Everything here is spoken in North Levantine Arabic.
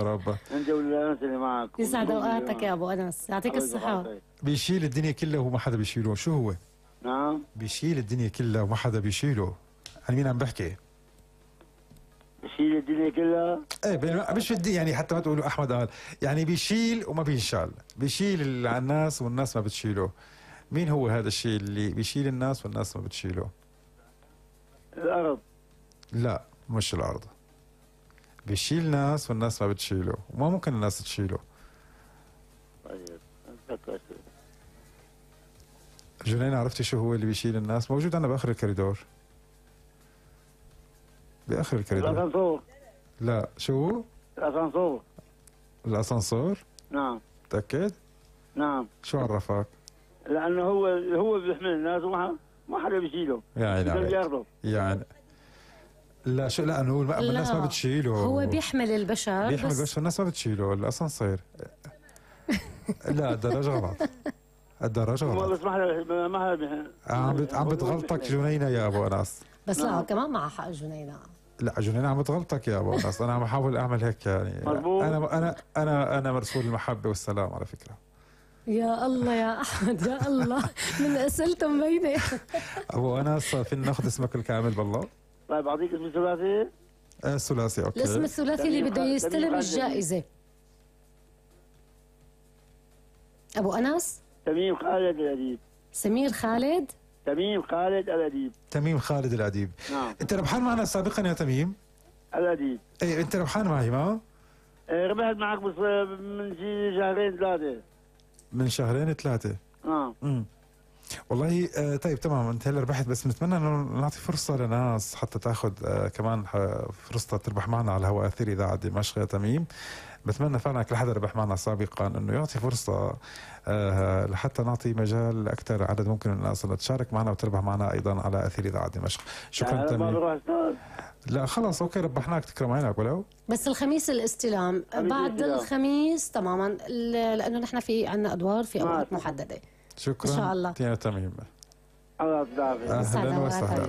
رب. انت والناس اللي معك. يسعد اوقاتك يا ابو انس، يعطيك الصحة. بيشيل الدنيا كلها وما حدا بيشيله، شو هو؟ نعم. بيشيل الدنيا كلها وما حدا بيشيله. عن مين عم بحكي؟ بيشيل الدنيا كلها؟ ايه مش بدي يعني حتى ما تقولوا احمد قال، يعني بيشيل وما بينشال، بيشيل على الناس والناس ما بتشيله. مين هو هذا الشيء اللي بيشيل الناس والناس ما بتشيله؟ الارض. لا مش الارض. بيشيل ناس والناس ما بتشيله، وما ممكن الناس تشيله. طيب جنين عرفتي شو هو اللي بيشيل الناس؟ موجود عندنا باخر الكوريدور. باخر الكوريدور. الاسانسور. لا شو؟ الاسانسور. الاسانسور؟ نعم. متأكد؟ نعم. شو عرفك؟ لانه هو بيحمل الناس وما حدا بيشيله. يعني عليك. يعني لا شو، لا انه الناس ما بتشيله. هو بيحمل البشر، بيحمل البشر والناس ما بتشيله. الاسانسير. لا الدراج غلط. الدراج غلط. بس ما عم بتغلطك جنينة يا ابو انس. بس لا كمان معها حق جنينة. لا جنينة عم بتغلطك يا ابو انس، انا عم بحاول اعمل هيك يعني. مظبوط. انا مرسول المحبة والسلام على فكرة. يا الله يا احمد يا الله، من اسئلته مبينة. ابو انس فينا ناخذ اسمك الكامل بالله؟ طيب اعطيك اسم ثلاثي؟ الثلاثي اوكي. الاسم الثلاثي اللي بده يستلم الجائزة. ابو انس؟ تميم خالد الأديب. سمير خالد؟ تميم خالد الأديب. تميم خالد الأديب. نعم. انت ربحان معنا سابقا يا تميم؟ الأديب. ايه انت ربحان معي ما؟ ربحت معك بس من شي شهرين ثلاثة. من شهرين ثلاثة. نعم. والله طيب تمام، انت هلا ربحت، بس بنتمنى انه نعطي فرصة لناس حتى تاخذ كمان فرصة تربح معنا على الهواء اثير اذاعة دمشق يا تميم. بتمنى فعلا كل حدا ربح معنا سابقا انه يعطي فرصة لحتى نعطي مجال لاكثر عدد ممكن من الناس انها تشارك معنا وتربح معنا ايضا على اثير اذاعة دمشق. شكرا تميم. لا خلص اوكي ربحناك، تكرم عينك ولو. بس الخميس الاستلام بعد الخميس تماما، لانه نحن في عندنا ادوار في اوقات محدده. شكرا ان شاء الله يا تميم. الله يسعدك. اهلا وسهلا.